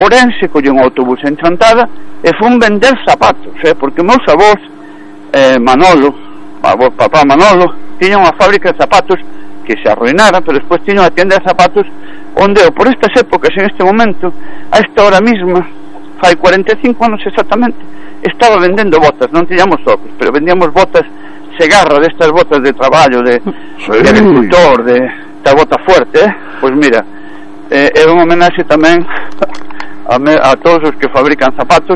Ourense, collí un autobús en Chantada e fun vender zapatos, porque meus avós, Manolo, papá Manolo, tiña unha fábrica de zapatos que se arruinara, pero despois tiña unha tienda de zapatos onde eu, por estas épocas, en este momento, a esta hora misma, fai 45 anos exactamente, estaba vendendo botas, non tiñamos socos, pero vendíamos botas Segarra, destas botas de traballo, de agricultor, de esta bota fuerte, pois mira, é un homenaxe tamén a todos os que fabrican zapatos,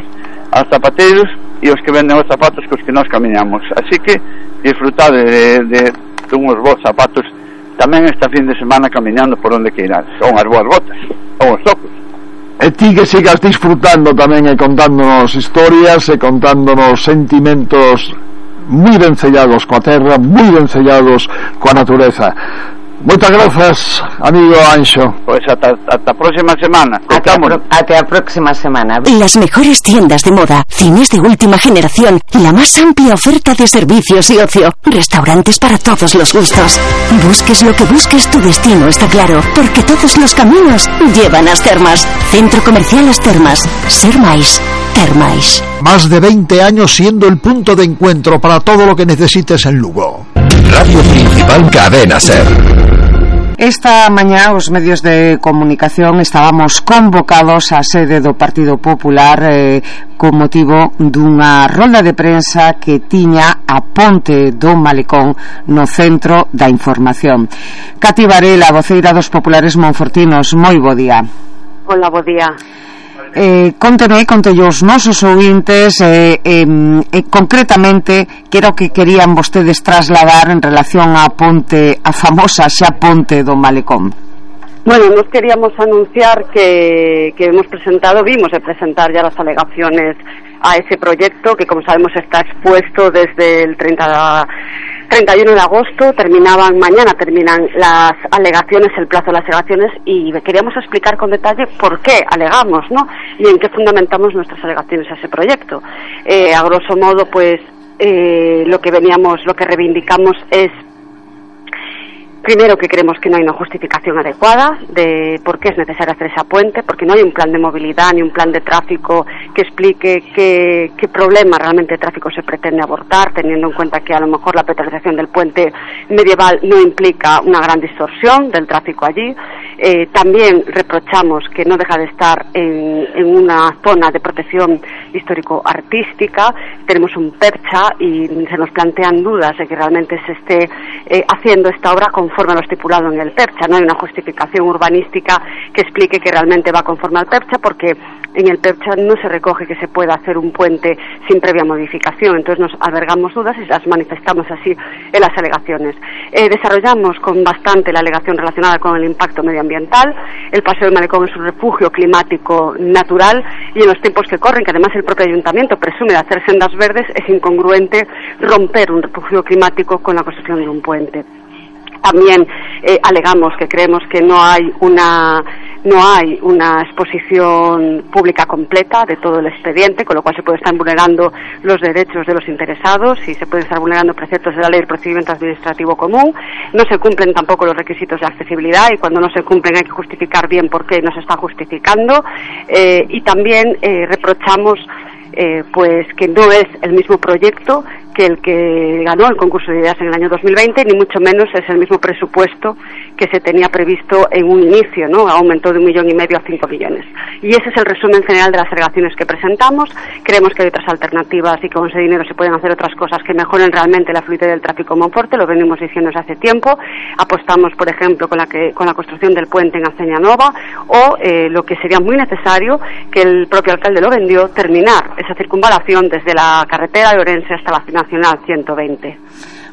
a zapateiros e os que venden os zapatos cos que nós camiñamos. Así que disfrutade de unhos bons zapatos tamén esta fin de semana camiñando por onde que irás. Son as boas botas, son os tocos. E ti que sigas disfrutando tamén e contándonos historias e contándonos sentimentos moi ben sellados coa terra, moi ben sellados coa natureza. Moitas grazas, amigo Anxo. Pois ata a próxima semana. Ata a próxima semana. Las mejores tiendas de moda, cines de última generación, la más amplia oferta de servicios y ocio, restaurantes para todos los gustos. Busques lo que busques, tu destino está claro, porque todos los caminos llevan a As Termas. Centro Comercial As Termas. Ser máis, ter máis. Más de 20 años siendo el punto de encuentro para todo lo que necesites en Lugo. Radio Principal Cadena Ser. Esta mañá os medios de comunicación estábamos convocados á sede do Partido Popular con motivo dunha rolda de prensa que tiña a Ponte do Malecón no centro da información. Cati Varela, voceira dos populares monfortinos, moi bo día. Hola, bo día. Conte os nosos ouvintes concretamente que era o que querían vostedes trasladar en relación á ponte, a famosa xa Ponte do Malecón. Bueno, nos queríamos anunciar que vimos de presentar ya las alegaciones a ese proyecto que, como sabemos, está expuesto desde el 31 de agosto, mañana terminan las alegaciones, el plazo de las alegaciones, y queríamos explicar con detalle por qué alegamos, ¿no? Y en qué fundamentamos nuestras alegaciones a ese proyecto. A grosso modo, pues, lo que reivindicamos es, primero, que creemos que no hay una justificación adecuada de por qué es necesario hacer esa puente, porque no hay un plan de movilidad ni un plan de tráfico que explique qué problema realmente de tráfico se pretende abordar, teniendo en cuenta que a lo mejor la peatonalización del puente medieval no implica una gran distorsión del tráfico allí. También reprochamos que no deja de estar en una zona de protección histórico-artística. Tenemos un percha y se nos plantean dudas de que realmente se esté haciendo esta obra conforme a lo estipulado en el percha. No hay una justificación urbanística que explique que realmente va conforme al percha, porque en el percha no se recoge que se pueda hacer un puente sin previa modificación. Entonces nos albergamos dudas y las manifestamos así en las alegaciones. Desarrollamos con bastante la alegación relacionada con el impacto medioambiental. El Paseo del Malecón es un refugio climático natural y en los tiempos que corren, que además el propio ayuntamiento presume de hacer sendas verdes, es incongruente romper un refugio climático con la construcción de un puente. También alegamos que creemos que no hay una exposición pública completa de todo el expediente, con lo cual se puede estar vulnerando los derechos de los interesados y se pueden estar vulnerando preceptos de la Ley del Procedimiento Administrativo Común. No se cumplen tampoco los requisitos de accesibilidad y cuando no se cumplen hay que justificar bien por qué no se está justificando. Y también reprochamos pues que no es el mismo proyecto que el que ganó el concurso de ideas en el año 2020, ni mucho menos es el mismo presupuesto que se tenía previsto en un inicio, ¿no? Aumentó de 1,5 millones a 5 millones. Y ese es el resumen general de las alegaciones que presentamos. Creemos que hay otras alternativas y que con ese dinero se pueden hacer otras cosas que mejoren realmente la fluidez del tráfico en Monforte, lo venimos diciendo desde hace tiempo. Apostamos, por ejemplo, con la construcción del puente en Aceña Nova, o lo que sería muy necesario, que el propio alcalde lo vendió, terminar esa circunvalación desde la carretera de Orense hasta la Nacional 120.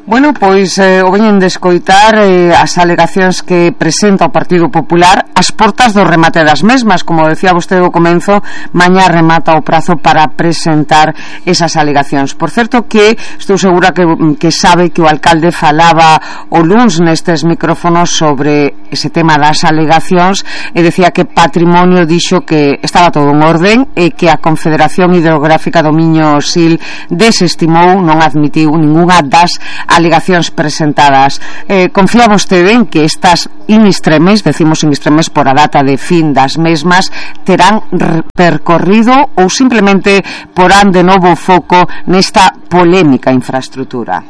Bueno, pois o veñen de escoitar as alegacións que presenta o Partido Popular ás portas do remate das mesmas. Como decía vostede ao comenzo, mañá remata o prazo para presentar esas alegacións. Por certo que estou segura que sabe que o alcalde falaba o luns nestes micrófonos sobre ese tema das alegacións e decía que Patrimonio dixo que estaba todo en orden e que a Confederación Hidrográfica do Miño Sil desestimou, non admitiu ningunha das alegacións presentadas. Confía vostede en que estas in extremis, decimos in extremis por a data de fin das mesmas, terán percorrido ou simplemente porán de novo foco nesta polémica infraestructura?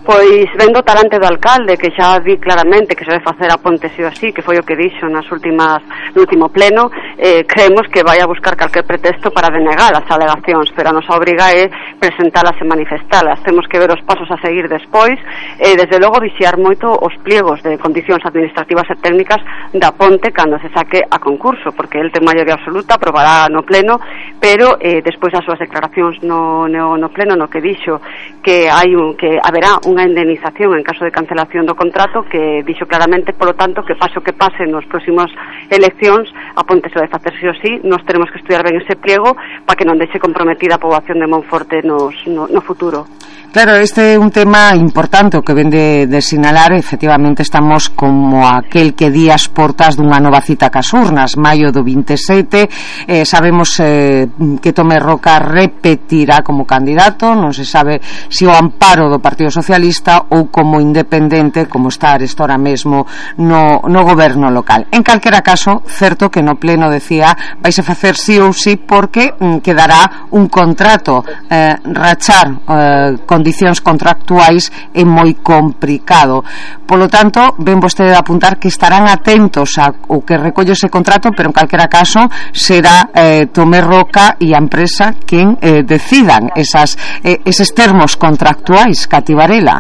Pois vendo o talante do alcalde, que xa vi claramente que se debe facer a ponte sí ou sí, que foi o que dixo no último pleno, creemos que vai a buscar calquer pretexto para denegar as alegacións, pero a nosa obriga é presentalas e manifestalas. Temos que ver os pasos a seguir despois, desde logo vixiar moito os pliegos de condicións administrativas e técnicas da ponte cando se saque a concurso, porque el ten maioría absoluta, aprobará no pleno, pero despois as súas declaracións no pleno, no que dixo que haberá unha indemnización en caso de cancelación do contrato, que dixo claramente, polo tanto, que pase o que pase nos próximos eleccións, a ponte se vai facer sí ou sí. Nós teremos que estudiar ben ese pliego para que non deixe comprometida a poboación de Monforte no futuro. Claro, este é un tema importante o que vende de sinalar. Efectivamente estamos como aquel que di as portas dunha nova cita cas urnas, maio do 27. Sabemos que Tomé Roca repetirá como candidato, non se sabe se o amparo do Partido Socialista ou como independente, como está ahora mesmo no goberno local. En calquera caso, certo que no pleno decía vais a facer sí ou sí porque quedará un contrato. Rachar condicións contractuais é moi complicado. Polo tanto, ven vostede de apuntar que estarán atentos ao que recolle ese contrato, pero en calquera caso será Tomé Roca e a empresa quen decidan eses termos contractuais, Cati Varela.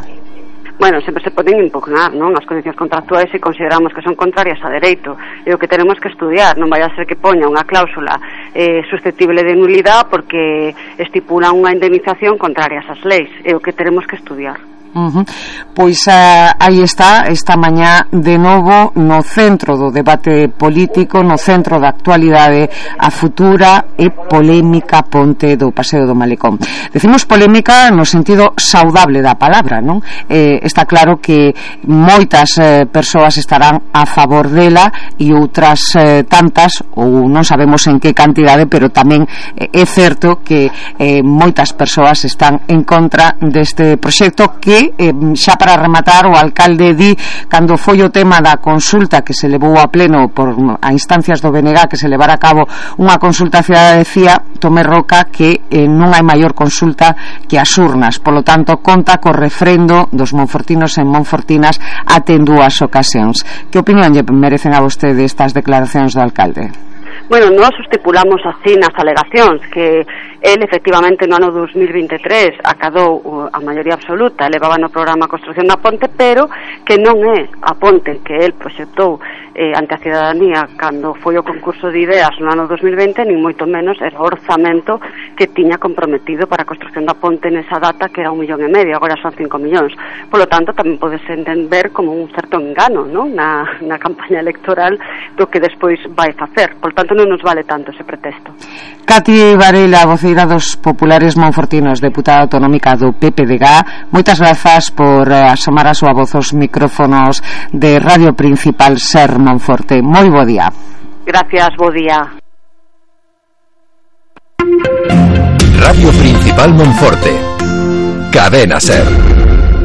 Bueno, sempre se poden impugnar, non? As condicións contractuais se consideramos que son contrarias a dereito, e o que tenemos que estudiar, non vai a ser que poña unha cláusula susceptible de nulidade porque estipula unha indemnización contraria ás leis, é o que tenemos que estudiar. Pois aí está, esta mañá de novo no centro do debate político, no centro da actualidade, a futura e polémica ponte do Paseo do Malecón. Decimos polémica no sentido saudable da palabra, non? Está claro que moitas persoas estarán a favor dela e outras tantas, ou non sabemos en que cantidade, pero tamén é certo que moitas persoas están en contra deste proxecto que xa para rematar, o alcalde di, cando foi o tema da consulta que se levou a pleno a instancias do BNG, que se levara a cabo unha consulta cidadá, decía Tomé Roca que non hai maior consulta que as urnas, polo tanto conta co refrendo dos monfortinos e monfortinas até en 2 ocasións. Que opinión lle merecen a vostede estas declaracións do alcalde? Bueno, nós estipulamos así nas alegacións que el efectivamente no ano 2023 acadou a maioría absoluta, levaba no programa a construción da ponte, pero que non é a ponte que el proxectou ante a cidadanía cando foi o concurso de ideas no ano 2020, nin moito menos era o orzamento que tiña comprometido para a construción da ponte nesa data, que era 1,5 millón, agora son 5 millóns. Por lo tanto, tamén podes entender como un certo engano, non? Na campaña electoral do que despois vai facer. Por lo tanto, non nos vale tanto ese pretexto. Cati Varela, voceira dos populares monfortinos, deputada autonómica do PPDG, moitas grazas por asomar a súa voz aos micrófonos de Radio Principal Ser Monforte. Moi bo día. Gracias, bo día. Radio Principal Monforte. Cadena Ser.